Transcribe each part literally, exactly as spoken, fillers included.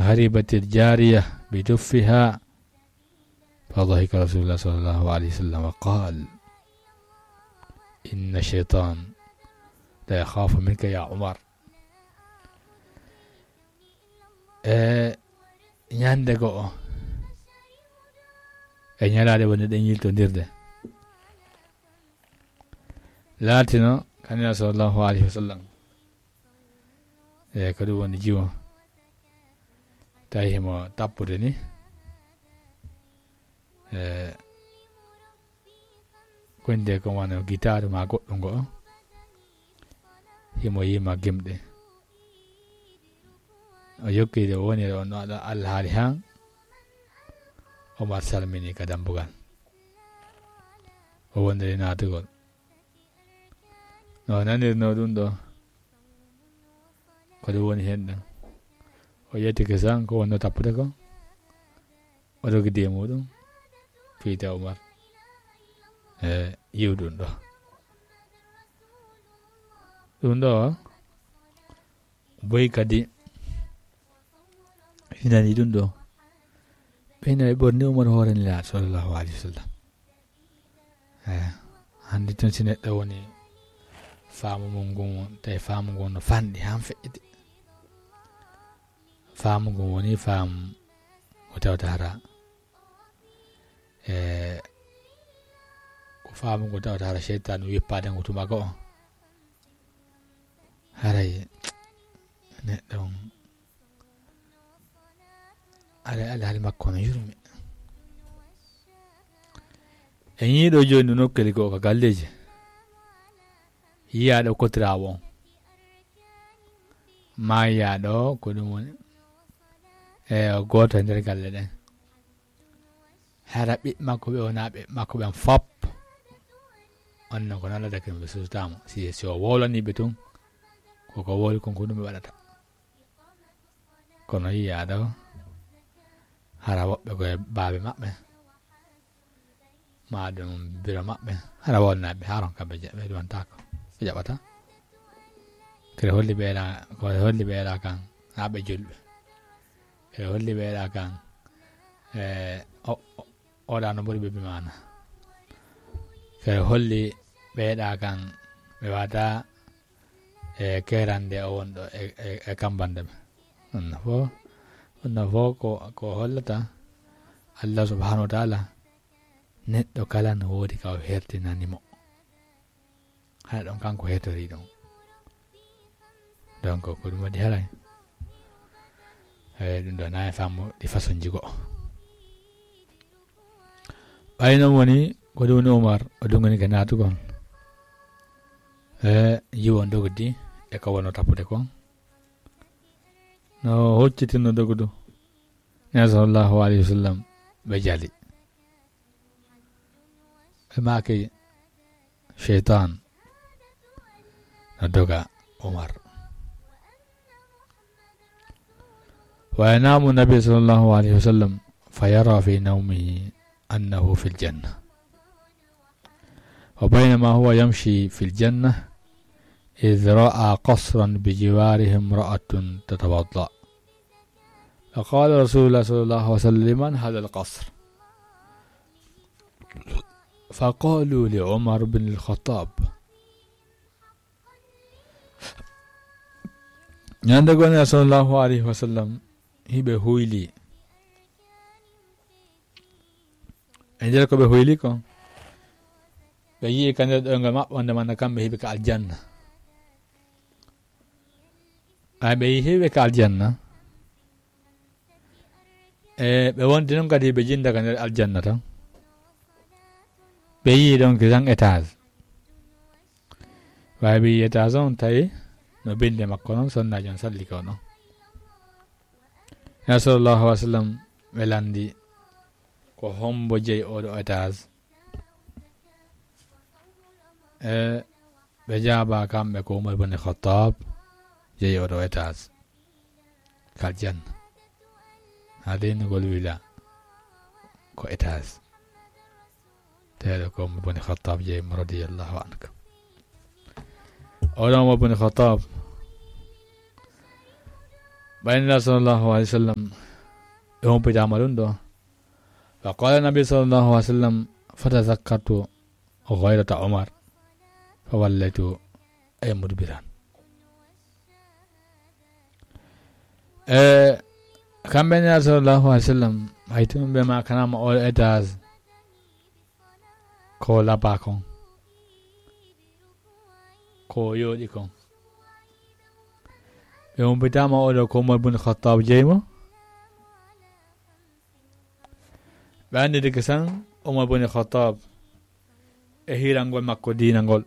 هربت الجارية بجفها، فضحك رسول الله صلى الله عليه وسلم وقال: إن الشيطان لا يخاف منك يا عمر. E ñande go'o, e ñalaade wonde ɗen yiltondirde, laatino kanina sallallahu alayhi wa sallam, e ko ɗum woni jiwo, tawi himo tappude ni, e ko nde ko wano gitaaru ma goɗɗum ngo, himo yima gimɗe. O yokki de woni ɗo no ɗo alhaali han. Omar salmini ka dambugal. O wondiri naatugol. No nanirno ɗum ɗo, ko ɗum woni hen ɗum. O ƴetti kisan ko wonno tappude ko. O rogidi e muɗum, fiyta Umar. E yiw ɗum ɗo. Ɗum ɗo, boy kadi, hinani ɗum ɗo. Ɓe hino ɓe ɓorni Umar hoore Nelaaɗo sallallahu alayhi wa sallam. E, hannde tun si neɗɗo woni faamu mum ngun, tawi faamu ngun no fanɗi han feƴƴude. Faamu ngun woni faamu ko tawata hara, e, ko faamu ngun tawata hara seytaane wippaade ngu tuma ko. Haray neɗɗo on, haray alhaali makko no yurmi. E ñiiɗo jooni no nokkeli ko ka galleeji. Yiyaaɗo kotiraawo on. Maa yiyaaɗo ko ɗum woni, e, o gooto e nder galle ɗen. Hara ɓiɓɓe makko ɓe wona ɓiɓɓe makko ɓen fop. On non ko nala dake ɓe sustama. Si, si o wowlani ɓe tun, ko ko wowli kon ko ɗum ɓe waɗata. Kono yiyaaɗo, hara woɓɓe ko e baabe maɓɓe. Maa ɗum biro maɓɓe, hara wonnaaɓe, haron kamɓe je-, ɓe ɗumantaako, ɓe jaɓata. Kere holli ɓeeɗa, ko holli ɓeeɗa kan, haa ɓe julɓe. Kere holli ɓeeɗa kan, e, o, o, oɗa no ɓuri ɓe bi maana. Kere holli ɓeeɗa kan, ɓe wata, e, kerande o wonɗo e, e, e kambande ɓe. Ɗum no fo, ɗum no fo ko, ko hollata Allah subhanahu wa ta'ala, neɗɗo kala no woodi ka o hertinani mo. Hara ɗon kanko hertori ɗon. Donc, ko ɗum waɗi haray. E, ɗum ɗo na e faamu ɗi façon ji go'o. Ɓay non woni, ko ɗum woni Umar, o dungani ka naatugol. E, yiwo dogdi, e ko wonno tappude kon. No hoccitinno dogdu. Nela sallallahu alayhi wa sallam, ɓe jali. Ɓe maaki, sheytan no doga Umar. وينام النبي صلى الله عليه وسلم فيرى في نومه أنه في الجنة. وبينما هو يمشي في الجنة إذ رأى قصرا بجواره امرأة تتوضأ. فقال رسول الله صلى الله عليه وسلم: لمن هذا القصر؟ فقالوا: لعمر بن الخطاب. Ñande goo Nela sallallahu alayhi wa sallam hiɓe huyli. E nder ko ɓe huyli kon, ɓe yi'i ka nder ɗoyngol maɓɓe wonde man kamɓe hiɓe ka aljanna. Ɓay ɓe yi'i hiɓe ka aljanna, e ɓe wonti non kadi ɓe jinda ka nder aljanna tan. Ɓe yi'i ɗon kisan étage. Ɓay ɓe yi'i étage on tawi no binde makko non, sonnaajo on salli ko non. Nela sallallahu alayhi wa sallam ɓe landi ko hombo jeyi oɗo étage. E ɓe jaaba kamɓe ko Umar bin Khattab jeyi oɗo étage. Ka aljanna. Haa deynugol wila ko étage. Teeɗo ko Umar bin Khattab jeyi mo radiyallahu anhu. Oɗo Umar bin Khattab, Ɓay Nulaaɗo sallallahu alayhi wa sallam, ɓe humpitaama ɗum ɗo. Fa qala nabi sallallahu alayhi wa sallam, "Fatazakkartu ghayrata Umar, fa wallaytu ay mudbiran." E kamɓe Nulaaɗo sallallahu alayhi wa sallam, hay tun ɓe ma kanama o étage, ko laba kon, ko yooɗi kon. Ɓe humpitaama oɗo ko Umar bun Khattab jeyi mo. Ɓe annditi kisan Umar bun Khattab e hiirangol makko diina ngol.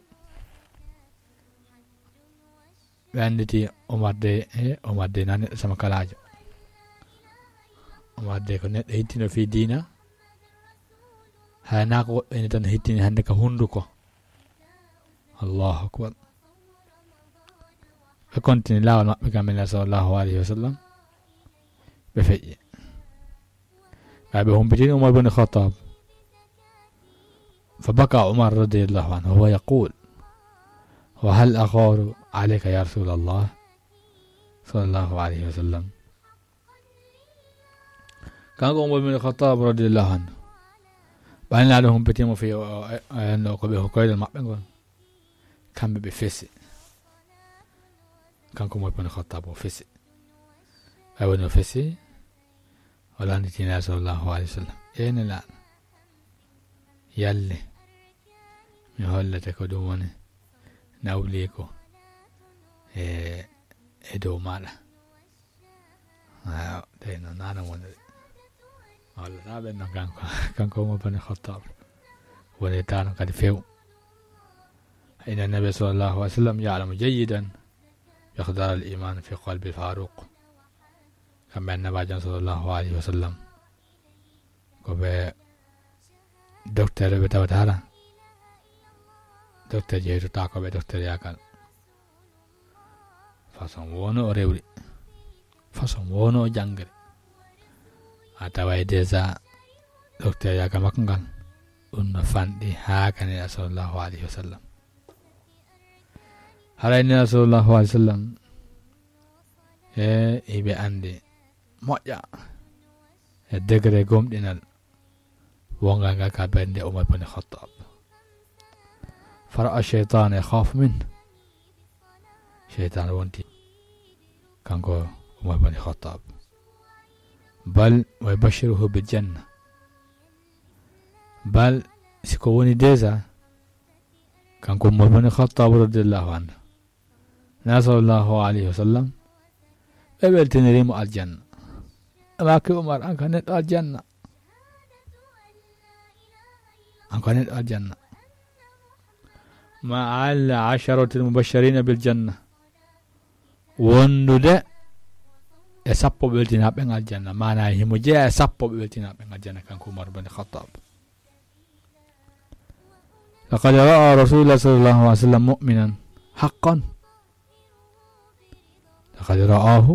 Ɓe annditi Umar de, e Umar de na neɗɗo sama kalaajo. Umar de ko neɗɗo hittino fii diina. Hay naa ko woɓɓe ni tan hittini hannde ka hunnduko. Allahu akbar. Ɓe kontini laawol maɓɓe kam Nulaaɗo sallallahu alayhi wa sallam. Ɓe feƴƴi. Ɓay ɓe humpitini Umar bun Khattab. Fa baka Umar radiyallahu anhu, wa huwa yaqul, "Wa hal agharu alayka ya Rasulallah?" Sallallahu alayhi wa sallam. Kanko Umar bun Khattab radiyallahu anhu. Ɓay Nulaaɗo humpitiima fii o, o, o, o, ko ɓe ko koyɗol maɓɓe ngol. Kamɓe ɓe fesi. Kanko Umar bun Khattab o fesi. Ɓay woni o fesi. O lannditi Nulaaɗo sallallahu alayhi wa sallam. Ee Nulaaɗo. Yalle. Mi hollete ko ɗum woni nawliiko e, e dow maaɗa. Ayo, tawi noon nana woni de. Hollata ɓen noon kanko, kanko Umar bun Khattab. Woni tano kadi few. Inna nabi sallallahu alayhi wa sallam ya'lamu jayyidan miqdar al-iman fi qalbi Faruq. Kamɓe Annabaajo sallallahu alayhi wa sallam. Ko ɓe docteur ɓe tawata hara. Docteur jeytotaako ɓe docteur yagal. Façon woono o rewri. Façon woono o janngri. A taway déjà docteur yagal makko ngal. Ɗum no fanɗi haa ka Nulaaɗo sallallahu alayhi wa sallam. Haray Nulaaɗo sallallahu alayhi wa sallam. E iɓe anndi moƴƴa e degré gomɗinal wongal ngal ka ɓernde Umar bun Khattab. Fara'a shaytan yakhafu min. Shaytan wonti kanko Umar bun Khattab. Bal wa yubashiruhu bil janna. Bal si ko woni déjà kanko Umar bun Khattab radiyallahu anhu. Nulaaɗo sallallahu alayhi wa sallam, ɓe weltiniri mo aljanna. Ɓe maaki Umar, an ka neɗɗo aljanna. An ka neɗɗo aljanna. Ma ala asharatil mubashirina bil janna. Wondude e sappo ɓe weltinaaɓe ɓen aljanna. Maana himo jeyaa e sappo ɓe weltinaaɓe ɓen aljanna kanko Umar bun Khattab. لقد رأى رسول الله صلى الله عليه وسلم مؤمنا حقا. لقد رآه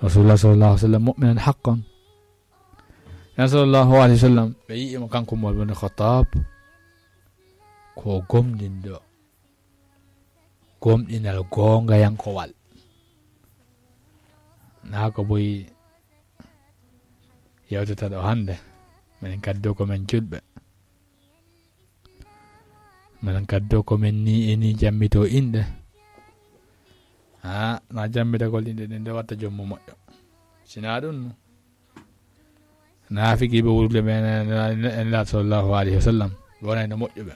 رسول الله صلى الله عليه وسلم مؤمنا حقا. Nulaaɗo sallallahu alayhi wa sallam, ɓe yi'i mo kanko Umar bun Khattab, ko gomɗinɗo, gomɗinal goongayankowal. Naa ko boyi yewtata ɗo hannde, minen kadi ɗo ko men julɓe. Minen kadi ɗo ko men ni e ni jammito inɗe. Ha, na jammitagol inɗe ɗen nde watta jommu moƴƴo. Sinaa ɗum no. Naafiqiiɓe wuurɓe ɓen e Nulaaɗo sallallahu alayhi wa sallam, ɓe wonayno moƴƴuɓe.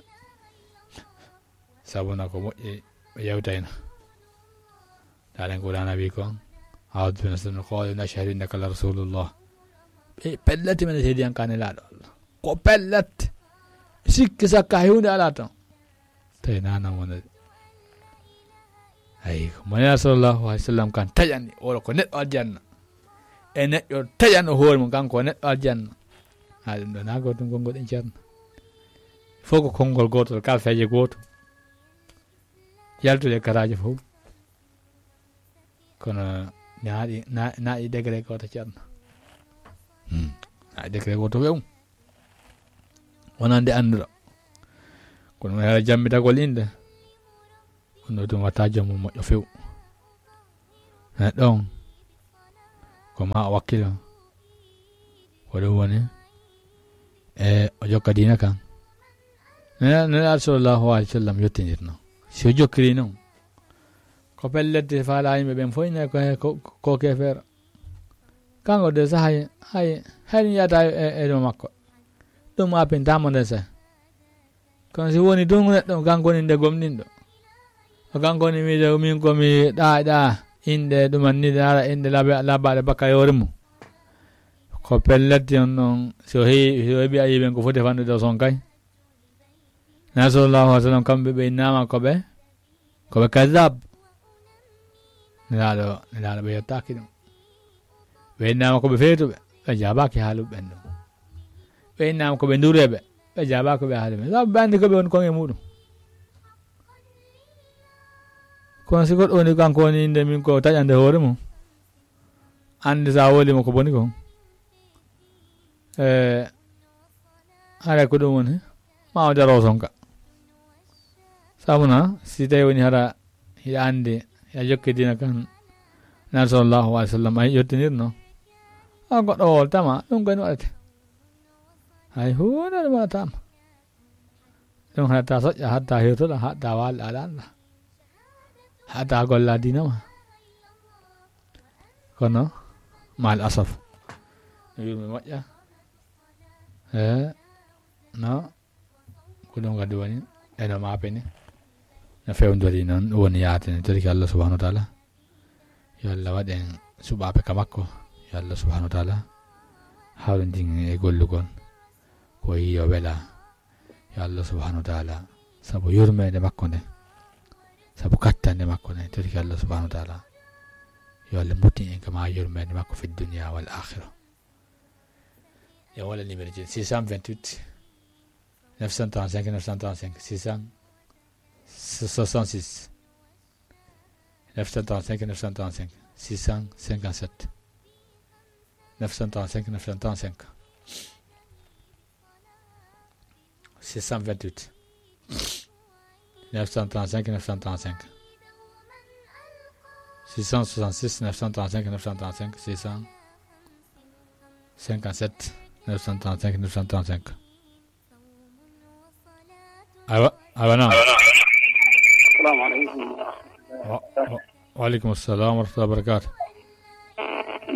Sabu na ko moƴƴi ɓe yewtayno. Taalen Qur'aana wi kon, "A'uudu billahi minash shaytaani rajiim, qaaluu nashhadu innaka la rasuulullah." Ɓe pellet men seedi an ka Nelaaɗo Allah. Ko pellet. Sikki sakka hay huunde alaa ton. Tawi nana wonde. Ayi, ko mo Nelaaɗo sallallahu alayhi wa sallam kan taƴani, wala ko neɗɗo aljanna. E neɗɗo taƴano hoore mum, kanko o neɗɗo aljanna. Ha ɗum ɗo na gootum konngol ɗen ceerno. Fof ko konngol gootol, kalfeeje gootum. Yaltude karaaji fof. Kono naaɗi, na-, naaɗi degré gooto ceerno. Hmm. Naaɗi degré gooto wew. Wonande annduɗo. Kono mo hara jammitagol innde. Kono ɗum watta joom mum moƴƴo few. Neɗɗo on, Ko ma o wakkilo. Ko ɗum woni e o jokka diina kan. Nela-, Nelaaɗo sallallahu alaihi wasallam yottinirno. Si o jokkiri noon, ko pellet faala yimɓe ɓen fof ina ko, ko, ko keefeero. Kanko de sahay, hay, hay mi yiyata e, e ɗum makko. Ɗum apintaama nde se. Kono si woni tun neɗɗo kanko woni nde gomɗinɗo. Ko kanko woni wiide min ko mi ɗaayɗa innde ɗuman ni, ɗe ara innde laba-, labaaɗe bakka e hoore mum. Ko pellet on ɗon, si o heewi, si o heɓi ayiben ko foti fannude o son kay. Nelaaɗo sallallahu alaihi wasallam kamɓe ɓe innama ko ɓe, ko ɓe kadab. Nelaaɗo, Nelaaɗo ɓe yettaaki ɗum. Ɓe innama ko ɓe feetuɓe, ɓe jaabaaki haaluɓe ɓen ɗum. Ɓe innama ko ɓe ndureeɓe, ɓe jaabaaki ɓe haaluɓe. Sabu ɓe anndi ko ɓe woni kon e muɗum. Kono si goɗɗo woni kanko woni innde min ko taƴande hoore mum. Anndi sa woli mo ko boni kon. E, haray ko ɗum woni, ma o daro son ka. Sabu na, si tawi woni hara hiɗa anndi, hiɗa jokki diina kan, Nelaaɗo sallallahu alaihi wasallam ay yottinirno. A goɗɗo woltama, ɗum ko en waɗata. Hay huunde ɗum waɗatama. Ɗum haɗata soƴƴa, haɗata hirtoɗa, haɗata waalɗa, aɗa annda. Haɗata golla diina ma. Kono, maal asaf. No yurmi moƴƴa. E, no, ko ɗum kadi woni, eno maapini. No fewndori noon, ɗum woni yaatini, toriki Allah subhanahu wa ta'ala. Yo Allah waɗ en suɓaaɓe ka makko. Yo Allah subhanahu wa ta'ala hawrindin e gollugol. Ko yiyo wela. Yo Allah subhanahu wa ta'ala, sabu yurmeende makko nde, sabu kattande makko nde, toriki Allah subhanahu wa ta'ala, yo Allah muttin en kama yurmeende makko fi dunya wal akhirah. E wala numéro ji, six cent vingt-huit, neuf cent trente-cinq, neuf cent trente-cinq, six cent soixante-six. Neuf cent trente-cinq, neuf cent trente-cinq, six cent cinquante-sept. Neuf cent trente-cinq, neuf cent trente-cinq. Six cent vingt-huit. Neuf cent trente-cinq, neuf cent trente-cinq. Six cent soixante-six, neuf cent trente-cinq, neuf cent trente-cinq, six cent cinquante-sept, neuf cent trente-cinq, neuf cent trente-cinq. Aywa, aywa, naam. Assalamu alaikum. Wa, wa, wa alaikum assalam wa rahmatullahi wa barakatuh.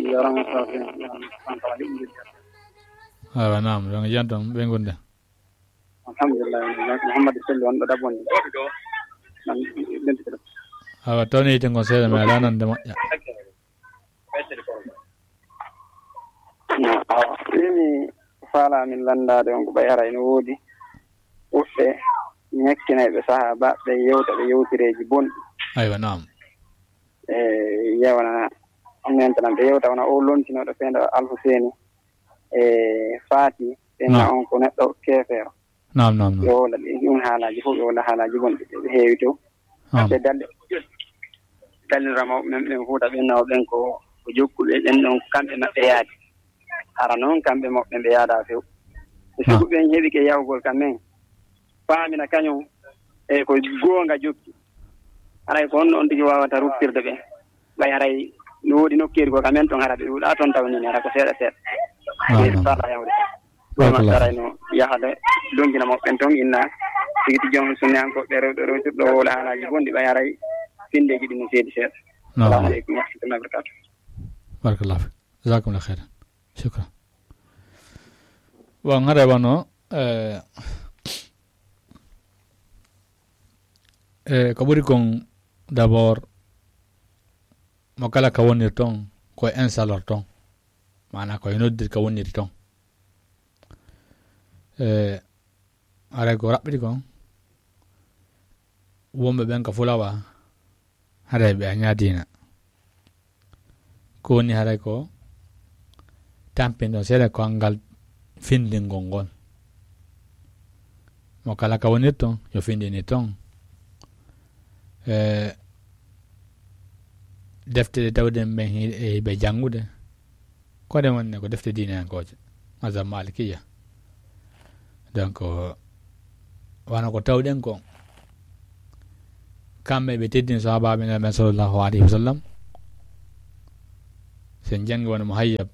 Jarama, Safi. Aywa, naam, ɗon e jam tan, ɓe ngonde. Alhamdulillah, Muhammad Selli wonɗo Dabbonde. Nan, ɓen ɗiɗo. Aywa, tawni yite ngon seeɗa, mi alaa nande moƴƴa. Awa, mimi faala min lanndaade on ko ɓay hara ene woodi woɓɓe ñakkinayɓe sahaabaaɓe ɓe yewta ɓe yewtireeji bonɗi. Aywa, naam. E yewana nentanan ɓe yewta wona o lontinooɗo seeɗa Alhuseeni e Faati, ɓenna Naam. on ko neɗɗo keefeero. Naam, naam, naam. Yo wowla ɗin, ɗin haalaaji fof, yo wowla haalaaji bonɗi, ɓe heewi to. Naam. Ɓe dalle, dallira mawɓe men ɓen Fuuta ɓen, nawa ɓen ko, ko jokkuɓe ɓen ɗon, kamɓe maɓɓe yaadi. Hara noon, kamɓe maɓɓe ɓe yaada few. E Naam. Sibu ɓen heɓike yahugol ka men, paamina kañum, e ko goonga jokki. Haray ko honno on tigi waawata ruttirde ɓe? Ɓay haray no woodi nokkeeri ko ka men ton, hara ɓe ɗuuɗaa ton, tawnii hara ko seeɗa seeɗa. Naam, ɓe naam. Faala yahde. Barakallah. Ɗum taray no yahde, dongina mo ɓen ton inna tigi tigi on sunniyankooɓe rewɓe rewtirɗo wowla haalaaji bonɗi, ɓay haray finndeeji ɗin no seedi seeɗa. Naam. Assalamu aleykum wa rahmatullahi wa barakatuh. Barakallah. Jazakumullah khairan. Shukran. Bon, haray wano, eh, eh, ko ɓuri kon d'abord, mo kala ka wonir ton, ko e insalor ton. Maanaa ko e noddir ka woniri ton. Eh, haray ko raɓɓiɗi kon, wonɓe ɓen ka fulawa, haray ɓe a ñaadina. Ko woni haray ko tampindon seeɗa ko anngal findingol ngol. Mo kala ka wonir ton, yo findini ton. E defte ɗe tawɗen ɓen hi-, e ɓe janngude, ko ɗe wonne ko defte diinayankooje, mazhab Malikiya. Donc, wano ko tawɗen ko, kamɓe ɓe teddini sahaabaaɓe Nulaaɗo men sallallahu alayhi wa sallam. to njannga wano Muhayyab,